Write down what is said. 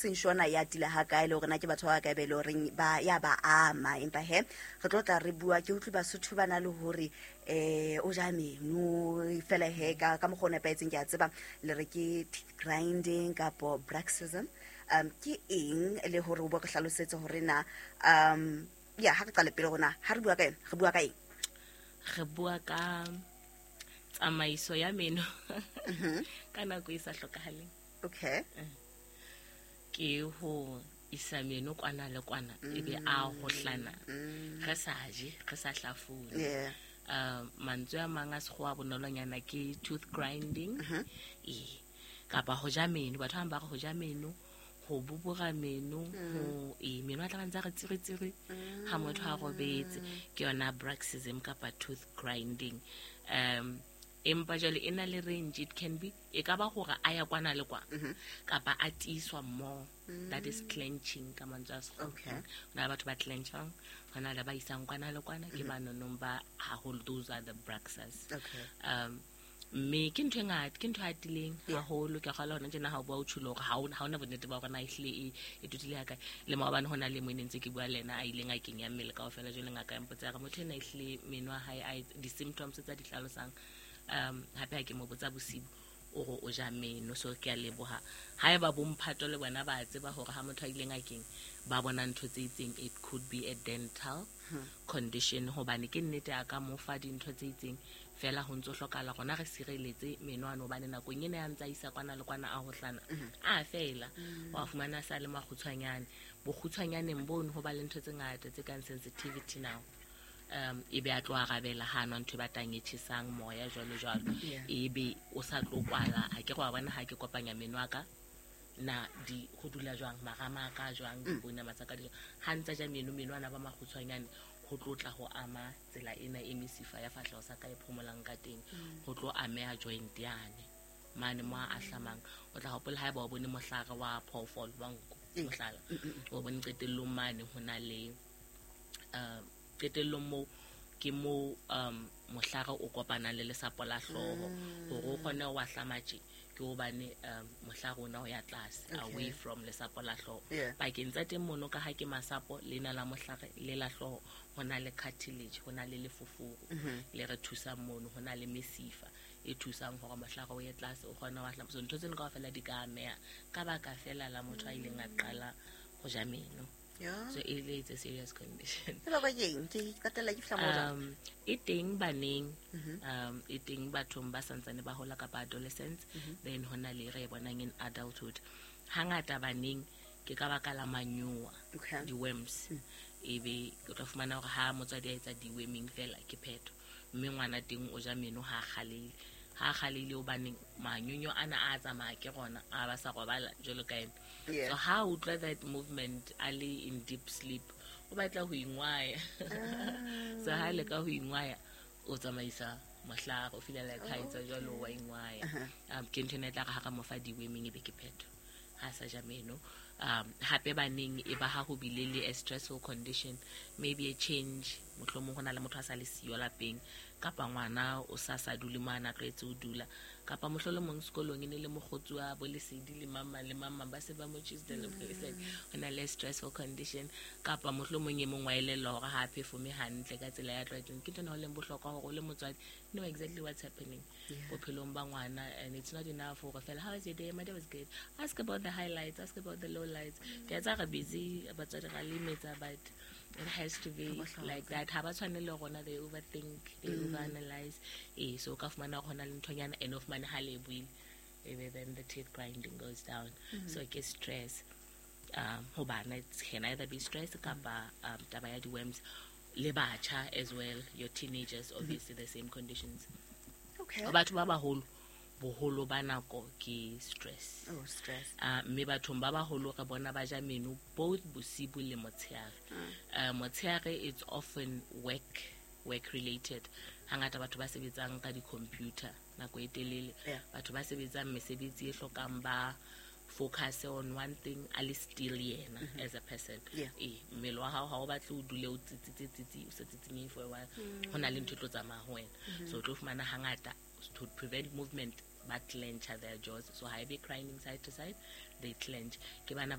seng shona ya tila ha kae le hore na ke batho ba kae be le horeng ba ya ba ama. Empa he re tlo tla re bua, ke utlwe Basotho ba na le hore o ja meno fela he ka mokgwa o nepahetseng. Ke a tseba le re ke teeth grinding kapo bruxism. Ke eng, le hore o bo re hlalosetse hore na ya ha re qale pele rona, ha re bua ka yona, re bua ka eng? Re bua ka tsamaiso ya meno ka nako e sa hlokahaleng. Ke ho isa meno kwana le kwana, ebe a hohlana re sa je, re sa hlafune. Mantswe a mang a sekgowa bonolonyana ke tooth grinding, ee, kapa ho ja meno. Batho ba bang ba re ho ja meno, ho bobora meno, ho ee meno a tla ba ntse a re tsiri-tsiri ha motho a robetse, ke yona bruxism kapa tooth grinding. Empa jwale e na le range. It can be, e ka ba hore a ya kwana le kwana kapa a tiiswa more, that is clenching ka mantswe a sekgowa. Ho na le batho ba clenchang, ho na le ba isang kwana le kwana, ke ba nonong ba haholo, those are the bruxers. Mme ke ntho e ngata, ke ntho e atileng haholo. Ke kgolwa hona tjena ha o bua, o tjholo hore ha ona bonnete ba hore na ehlile e totile ha kae. Le maobane ho na le mo e ne ntse ke bua le ena, a ileng a kenya mmele kaofela. Jwale ngaka ya mpotsa ya re motho ena ehlile meno a hae a di-symptoms tsa di hlalosang. Hape ha ke mo botsa bosibu, o re o ja meno. So ke a leboha ha eba bomphato le bona ba tseba hore ha motho a ile ngakeng ba bona ntho tse itseng, it could be a dental condition, hobane ke nnete a ka mo fa dintho tse itseng fela. Ho ntso hlokahala rona re sireletse meno ano, hobane nakong ena ya ntsa isa kwana le kwana, a hohlana a fela, wa fumana sa le makgutshwanyane. Bokgutshwanyaneng bono ho ba le ntho tse ngata tse kang sensitivity now, e be a tlo arabela ha nwa ntho e batang, e tjhesang, moya, jwalo jwalo. E be o sa tlo kwala. Ha ke re wa bona ha ke kopanya meno a ka na di ho dula jwang, marama a ka jwang, dipounama tsa ka di jwang. Ha ntsa ja meno, meno ana ba makgutshwanyane, ho tlo tla ho ama tsela ena e mesifa ya fahleho sa ka e phomolang ka teng. Ho tlo ameha joint yane mane mo a ahlamang. O tla hopola ha eba o bone mohlare wa phoofolo wa nku, mohlala o bone qetellong mane ho na le qetellong moo ke mo mohlare o kopanang le lesapo la hlooho. Hore o kgone ho ahlama tje, ke hobane mohlare ona o ya tlase, away from lesapo la hlooho. Pakeng tsa teng mono, ka ha ke masapo lena la mohlare le la hlooho, ho na le cartilage, ho na le lefoforo le re thusang mono, ho na le mesifa e thusang hore mohlare o ye tlase, o kgone ho ahlama. So ntho tseno kaofela di ka ameha ka baka fela la motho a ileng a qala ho ja meno. So e le it's a serious condition. E bakwa ke eng? Ke qetella ke fihla moo jwang? E teng baneng, e teng bathong ba santsane ba hola kapa adolescents. Then ho na le re e bonang in adulthood. Hangata baneng ke ka baka la manyowa, di-worms. Ebe o tla fumana hore ha motswadi a etsa deworming fela, ke phetho, mme ngwana teng o ja meno ha a kgaleile. Ha a kgaleile hobaneng manyonyo ana a tsamaya, ke rona a ba sa robala jwalo ka ena. So ha a utlwa that movement, a le in deep sleep, o batla ho ingwaya. So ha leka ho ingwaya, o tsamaisa mohlare, o feel like ha etsa jwalo wa ingwaya. Ke ntho ena e tla re ha re mo fa deworming, ebe ke phetho, ha sa ja meno. Hape baneng e ba ha ho bile le a stressful condition, maybe a change, mohlomong ho na le motho a sa le siyo lapeng, kapa ngwana o sa dule mo a na tlwaetse ho dula, kapa mohlolomong sekolong e ne le mokgotsi wa bo Lesedi le mamang le mamang, ba se ba mo choositse le bo Lesedi. Ho na le stressful condition, kapa mohlomong e mong wa elellwa hore ha a performe hantle ka tsela ya tlwaetseng. Ke ntho ena ho leng bohlokwa hore o le motswadi know exactly what's happening bophelong ba ngwana. And it's not enough hore fela, "How was your day?" "My day was good." Ask about the highlights, ask about the low lights. Ke a tsa re busy batswadi, ra lemetsa, but it has to be Ho bohlokwa. like that. Ha ba tshwane le rona, they overthink, they overanalyze. Ee, so o ka fumana hore ho na le nthonyana, and o fumane ha le buile, ebe then the teeth grinding goes down. So ke stress. Ho bana it can either be stress kapa taba ya di-worms. Le batjha as well, your teenagers, obviously the same conditions. Batho ba baholo, boholo ba nako ke stress. Oh, stress. Mme bathong ba baholo re bona ba ja meno both bosibu le motshehare. Motshehare it's often work related. Hangata batho ba sebetsang ka di-computer nako e telele, batho ba sebetsang mesebetsi e hlokang ba focus on one thing, a le still yena as a person. Ee, mmele wa hao ha o batle o dule o tsitsitse tsitsi, o sa tsitsinyehe for a while, ho na le ntho e tlo tsamaya ho wena. So o tlo fumana hangata to prevent movement ba clench their jaws. So ha e be grinding side to side, they clench. Ke bana ba